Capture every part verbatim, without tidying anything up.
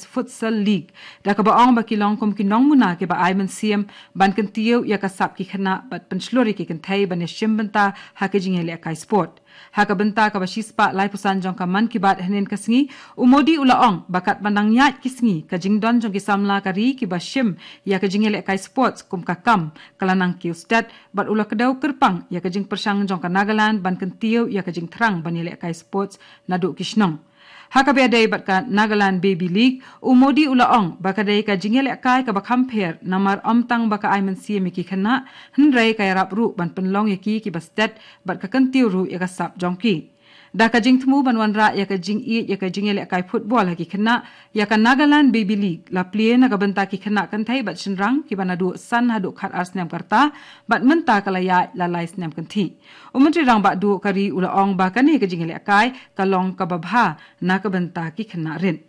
Futsal League, da kaba ong ba ki long kum ki nongmuna kiba ai mynsiem ban kyntiew ïa ka sap ki khynnah bad pynshlur ïa ki kynthei ban ïashim bynta ha ka jingïalehkai sport. Ha ka bynta kaba shispah laiphew san jong ka Mann Ki Baat hynnin ka sngi, u Modi u la ong ba katba nang ïaid ki sngi, ka jingdon jong ki samla ka ri kiba shim ïa ka jingïalehkai sports kum ka kam ka la nang kiew stet, bad u la kdew kyrpang ïa ka jingpyrshang jong ka Nagaland ban kyntiew ïa ka jingthrang ban ïalehkai sports naduh ki shnong. Ha kaba ïadei bad ka Nagaland Baby League, u Modi u la ong ba ka dei ka jingïalehkai kaba kham pher namar ym tang ba ka ai mynsiem ïa ki khynnah, hynrei ka ïarap ruh ban pynlong ïa ki kiba stet bad ka kyntiew ruh ïa ka sap jong ki. Da ka jingthmu ban wanrah ïa ka jingïeit ïa ka jingïalehkai football ha ki khynnah, ïa ka Nagaland Baby League la plie na ka bynta ki khynnah kynthei bad shynrang kiba naduh san haduh khatar snem ka rta, bad mynta ka la ïaid la lai snem kynthih. U Myntri Rangbah Duh ka ri u la ong ba kane ka jingïalehkai ka long kaba bha na ka bynta ki khynnah rit.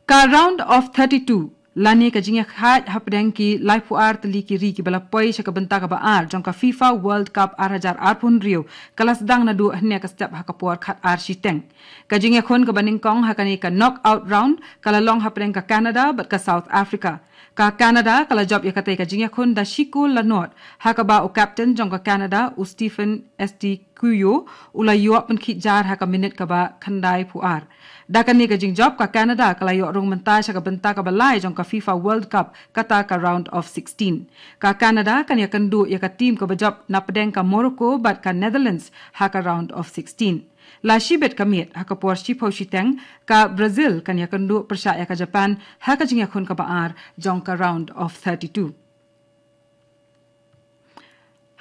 Ka round of thirty-two, lane ka jingïakhaid hapdeng ki laiphew ar tylli ki ri kiba la poi sha ka bynta kaba ar jong ka FIFA World Cup ar hajar arphew hynriew, ka la sdang naduh hynne ka step ha ka por khatar shiteng. Ka jingïakhun kaba nyngkong ha kane ka knockout round ka la long hapdeng ka Canada bad ka South Africa. Ka Canada ka la jop ïa katei ka jingïakhun da shi kol la nod, ha kaba u captain jong ka Canada, u Stephen Estiquio, u la ïoh pynkhih jar ha ka minit kaba khyndai phew ar. Da kane ka jingjop, ka Canada ka la ïoh rung mynta sha ka bynta kaba lai jong ka FIFA World Cup, kata ka round of sixteen. Ka Canada kan ïakynduh ïa ka team kaba jop napdeng ka Morocco bad ka Netherlands ha ka round of sixteen. La shibit ka miet ha ka por shiphew shiteng, ka Brazil kan ïakynduh pyrshah ïa ka Japan ha ka jingïakhun kaba ar jong ka round of thirty-two.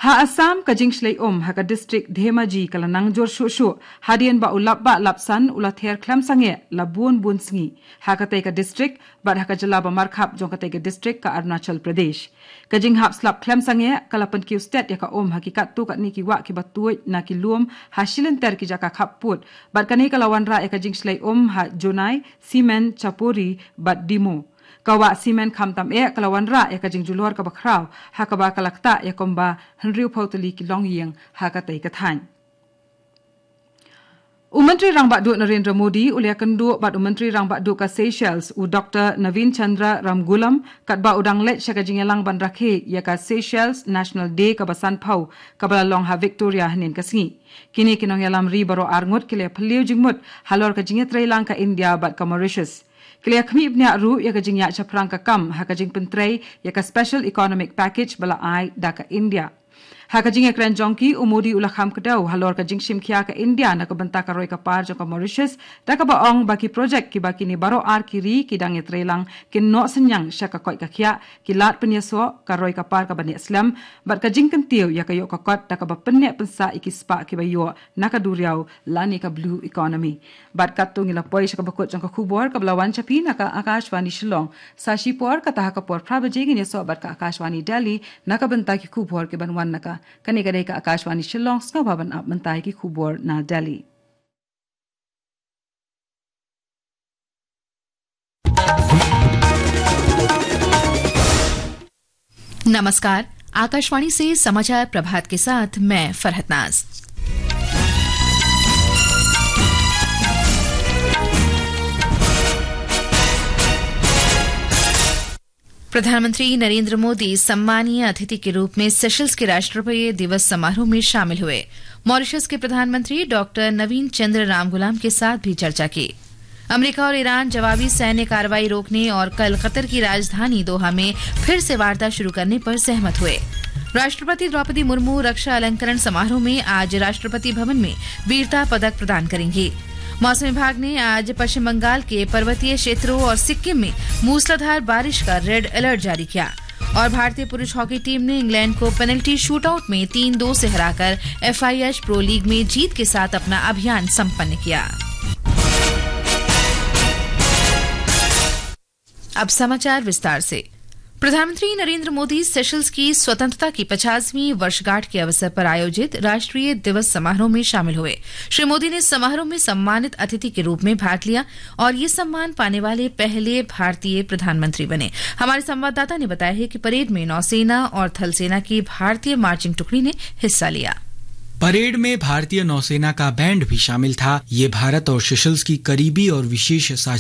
Ha Assam, ka jingshlei um ha ka district Dhemaji ka la nang jur shuh shuh, hadien ba u lapbah lapsan u la ther khlem sangeh la bun bun sngi ha katei ka district, bad ha ka jylla ba markhap jong katei ka district, ka Arunachal Pradesh. Ka jinghap slap khlem sangeh ka la pynkiew stet ïa ka um ha ki katto katne ki wah kiba tuid na ki lum ha shilynter ki jaka khappud, bad kane ka la wanrah ïa ka jingshlei um ha Jonai, Simen, Chapori bad Dimo. Ka wah Simen khamtam eh ka la wanrah ïa ka jingjulor kaba khraw, ha kaba ka la ktah ïa kumba hynriewphew tylli ki longïing ha katei ka thaiñ. U Myntri Rangbah Duh Narendra Modi u la ïakynduh bad u Myntri Rangbah Duh ka Seychelles, u Doktor Navin Chandra Ramgoolam, katba u dang leit sha ka jingïalang ban rakhe ïa ka Seychelles National Day kaba sanphew, kaba la long ha Victoria hynnin ka sngi. Kine ki nongïalam ri baroh arngut ki la ïaphylliew jingmut halor ka jingïatreilang ka India bad ka Mauritius. Ki la ïakhmih bniah ruh ïa ka jingïaid shaphrang ka kam ha ka jingpyntrei ïa ka Special Economic Package ba la ai da ka India. Ha ka jingïakren jong ki, u Modi u la kham kdew halor ka jingshim khia ka India na ka bynta ka roi ka par jong ka Mauritius, da kaba ong ba ki projek kiba kine baroh ar ki ri ki dang ïatreilang kin noh synñiang sha ka koit ka khiah, ki lad pynïasoh, ka roi ka par kaba neh slem, bad ka jingkyntiew ïa ka ïoh ka kot da kaba pynneh pynsah ïa ki spah kiba ïoh na ka duriaw lane ka blue economy. Bad katto ngi la poi sha kaba kut jong ka khubor kaba la wan sha phi na ka Akashvani Shillong. Sa shipor, kata ha ka por phra baje ngin ïasoh bad ka Akashvani Delhi na ka bynta ki khubor kiban wan na ka. Kane ka dei ka Akashvani Shillong, sngewbha ban ap mynta ïa ki khubor na Delhi. नमस्कार, आकाशवाणी से समाचार प्रभात के साथ मैं फरहत नाज। प्रधानमंत्री नरेंद्र मोदी सम्मानीय अतिथि के रूप में सेशल्स के राष्ट्रीय दिवस समारोह में शामिल हुए। मॉरिशस के प्रधानमंत्री डॉक्टर नवीन चंद्र रामगुलाम के साथ भी चर्चा की। अमेरिका और ईरान जवाबी सैन्य कार्रवाई रोकने और कल कतर की राजधानी दोहा में फिर से वार्ता शुरू करने पर सहमत हुए। राष्ट्रपति द्रौपदी मुर्मू रक्षा अलंकरण समारोह में आज राष्ट्रपति भवन में वीरता पदक प्रदान करेंगी। मौसम विभाग ने आज पश्चिम बंगाल के पर्वतीय क्षेत्रों और सिक्किम में मूसलाधार बारिश का रेड अलर्ट जारी किया। और भारतीय पुरुष हॉकी टीम ने इंग्लैंड को पेनल्टी शूटआउट में तीन दो से हराकर एफआईएच प्रो लीग में जीत के साथ अपना अभियान संपन्न किया। अब समाचार विस्तार से। प्रधानमंत्री नरेंद्र मोदी सेशल्स की स्वतंत्रता की पचासवीं वर्षगांठ के अवसर पर आयोजित राष्ट्रीय दिवस समारोह में शामिल हुए। श्री मोदी ने समारोह में सम्मानित अतिथि के रूप में भाग लिया और ये सम्मान पाने वाले पहले भारतीय प्रधानमंत्री बने। हमारे संवाददाता ने बताया है कि परेड में नौसेना और थल सेना की भारतीय मार्चिंग टुकड़ी ने हिस्सा लिया। परेड में भारतीय नौसेना का बैंड भी शामिल था। ये भारत और सेशल्स की करीबी और विशेष साझेदारी